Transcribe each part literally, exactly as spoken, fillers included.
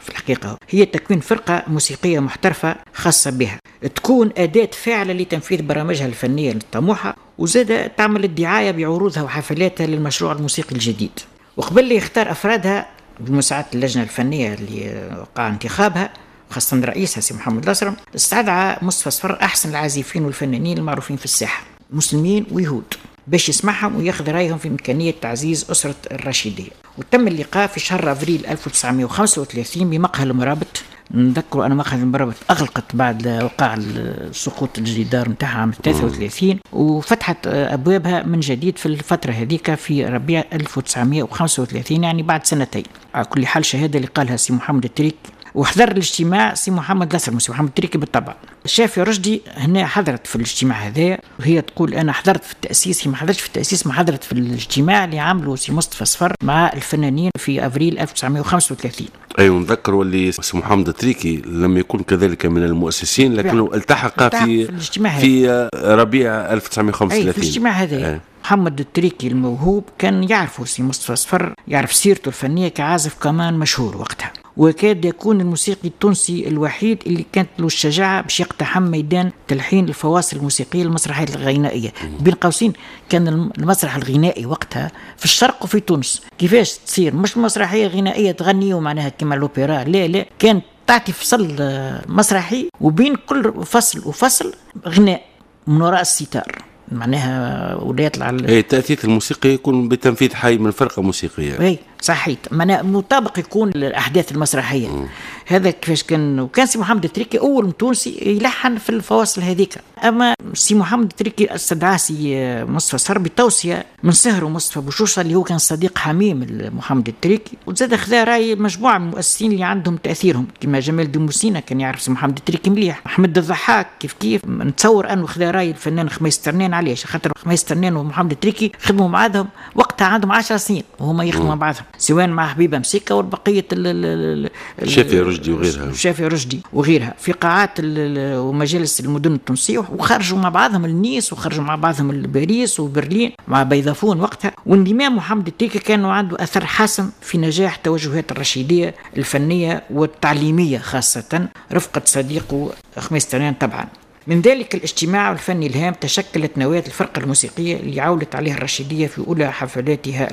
في الحقيقة هي تكوين فرقة موسيقية محترفة خاصة بها، تكون أداة فاعلة لتنفيذ برامجها الفنية الطموحة، وزاد تعمل الدعاية بعروضها وحفلاتها للمشروع الموسيقي الجديد. وقبل يختار أفرادها بمساعدة اللجنة الفنية اللي وقع انتخابها، خاصة رئيسها سي محمد الأسرم، استدعى مصطفى صفر أحسن العازفين والفنانين المعروفين في الساحة، مسلمين ويهود، باش يسمعهم وياخذ رايهم في إمكانية تعزيز أسرة الرشيدية. وتم اللقاء في شهر أفريل ألف وتسعمائة وخمسة وثلاثين بمقهى المرابط. نذكروا أن مقهى المرابط أغلقت بعد وقع سقوط الجدار نتاعها عام ثلاثة وثلاثين، وفتحت أبوابها من جديد في الفترة هذيك في ربيع ألف وتسعمائة وخمسة وثلاثين، يعني بعد سنتين. على كل حال شهادة اللي قالها سي محمد التريكي، وحضر الاجتماع سي محمد الأسرم وسي محمد التريكي بالطبع. شافي رشدي هنا حضرت في الاجتماع هذا، وهي تقول انا حضرت في التاسيس، هي ما حضرتش في التاسيس، ما حضرت في الاجتماع اللي عمله سي مصطفى صفر مع الفنانين في افريل ألف وتسعمائة وخمسة وثلاثين. ايوه، نذكر واللي سي محمد التريكي لم يكن كذلك من المؤسسين، لكنه التحق في في, الاجتماع في ربيع ألف وتسعمائة وخمسة وثلاثين. أي في الاجتماع هذا. محمد التريكي الموهوب كان يعرفه سي مصطفى صفر، يعرف سيرته الفنية كعازف كمان مشهور وقتها، وكاد يكون الموسيقي التونسي الوحيد اللي كانت له الشجاعة باش يقتحم ميدان تلحين الفواصل الموسيقية للمسرحيات الغنائية. بين قوسين كان المسرح الغنائي وقتها في الشرق وفي تونس كيفاش تصير، مش مسرحية غنائية تغني ومعناها كما الأوبرا، لا لا، كانت تعطي فصل مسرحي وبين كل فصل وفصل غناء من وراء الستار، معناها ولا يطلع ال... اي التأثيث الموسيقي يكون بتنفيذ حي من فرقة موسيقية. اي صحيت، معناها مطابق يكون للأحداث المسرحية. م. هذا كيفاش كان. وكان سي محمد التريكي أول تونسي يلحن في الفواصل هذيك. أما سي محمد التريكي استدعاه سي مصطفى صفر بتوصية من سهره مصطفى بوشوشة اللي هو كان صديق حميم محمد التريكي، وزاد خذا رأي مجموعة من المؤسسين اللي عندهم تأثيرهم كما جمال دموسينا كان يعرف سي محمد التريكي مليح، أحمد الضحاك كيف كيف. نتصور أنه خذا رأي الفنان خميس ترنان. علاش؟ خاطر خميس ترنان ومحمد التريكي خدموا مع بعضهم وقتها عندهم عشر سنين وهما يخدموا مع بعضهم، سواء مع حبيبه مسيكه والبقية شافي رشدي وغيرها، شافي رشدي وغيرها في قاعات ومجالس المدن التونسية، وخرجوا مع بعضهم لنيس وخرجوا مع بعضهم لباريس وبرلين مع بيضافون وقتها. وانضمام محمد التريكي كان عنده اثر حاسم في نجاح توجهات الرشيديه الفنية والتعليمية، خاصة رفقه صديقه خميس ترنان طبعا. من ذلك الاجتماع الفني الهام تشكلت نواة الفرقة الموسيقية اللي عولت عليها الرشيدية في أولى حفلاتها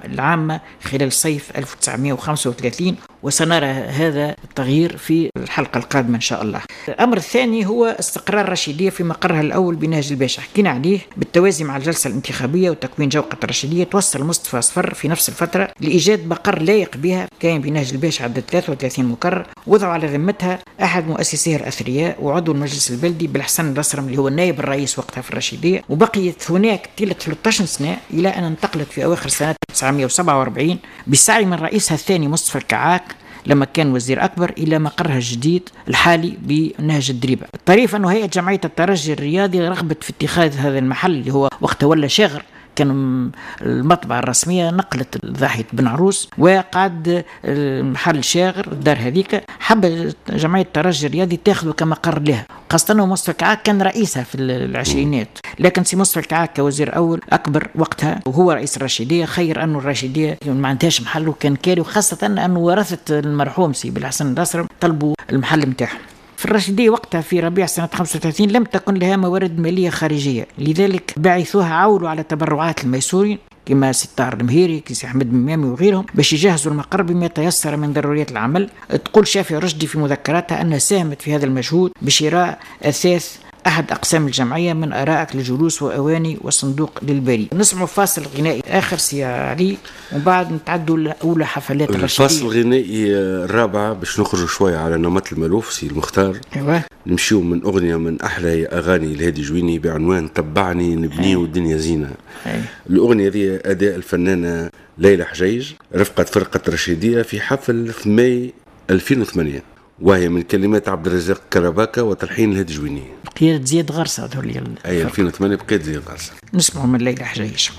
العامة خلال صيف ألف وتسعمائة وخمسة وثلاثين، وسنرى هذا التغيير في الحلقة القادمة إن شاء الله. الأمر الثاني هو استقرار الرشيدية في مقرها الأول بنهج الباشا، حكينا عليه، بالتوازي مع الجلسة الانتخابية وتكوين جوقة الرشيدية. توصل مصطفى صفر في نفس الفترة لإيجاد مقر لايق بها كان بنهج الباشا عدد ثلاثة وثلاثين مقر، وضعوا على ذمتها أحد مؤسسيها الأثرياء وعضو المجلس البلدي بالحسن الأسرم اللي هو النائب الرئيس وقتها في الرشيدية. وبقيت هناك طيلة ثلاثة عشر سنة إلى أن انتقلت في أواخر سنة ألف وتسعمائة وسبعة وأربعين بسعي من رئيسها الثاني مصطفى الكعاك لما كان وزير أكبر إلى مقرها الجديد الحالي بنهج الدريبة. الطريف أنه هيئة جمعية الترجي الرياضي رغبت في اتخاذ هذا المحل اللي هو وقتها ولا شاغر، كان المطبعة الرسمية نقلت ضاحية بن عروس وقعد المحل شاغر الدار هذيك، حب جمعية الترجي الرياضي تاخذه كمقر لها، خاصة أنه مصطفى الكعاك كان رئيسها في العشرينات. لكن سي مصطفى الكعاك كوزير أول أكبر وقتها وهو رئيس الرشيدية خير أنه الرشيدية ما عندهاش محل وكان كاري، وخاصة أنه ورثة المرحوم سي بالحسن الأسرم طلبوا المحل نتاعهم. في الرشيدية وقتها في ربيع سنة خمسة وثلاثين لم تكن لها موارد مالية خارجية، لذلك بعثوها عولوا على تبرعات الميسورين كما ستار المهيري كي أحمد ممامي وغيرهم باش يجهزوا المقر بما تيسر من ضروريات العمل. تقول شافي رشدي في مذكراتها أنها ساهمت في هذا المجهود بشراء أثاث أحد أقسام الجمعية من أرائك للجلوس وأواني وصندوق للبريد. نسمع فاصل غنائي آخر سي علي وبعد نتعدوا لأولى حفلات الرشيدية. الفاصل الغنائي الرابع باش نخرج شوية على نمط المألوف سي المختار. أيوة. نمشيو من أغنية من أحلى أغاني الهادي جويني بعنوان تبعني نبني والدنيا زينة. أيوة. الأغنية دي أداء الفنانة ليلى حجيج رفقة فرقة الرشيدية في حفل في ماي ألفين وثمانية، وهي من كلمات عبد الرزاق كرباكة وتلحين الهادي جويني. بقيادة زياد غرسة. أي ألفين وثمانية بقيادة زياد غرسة. نسمع من ليلى حجيج.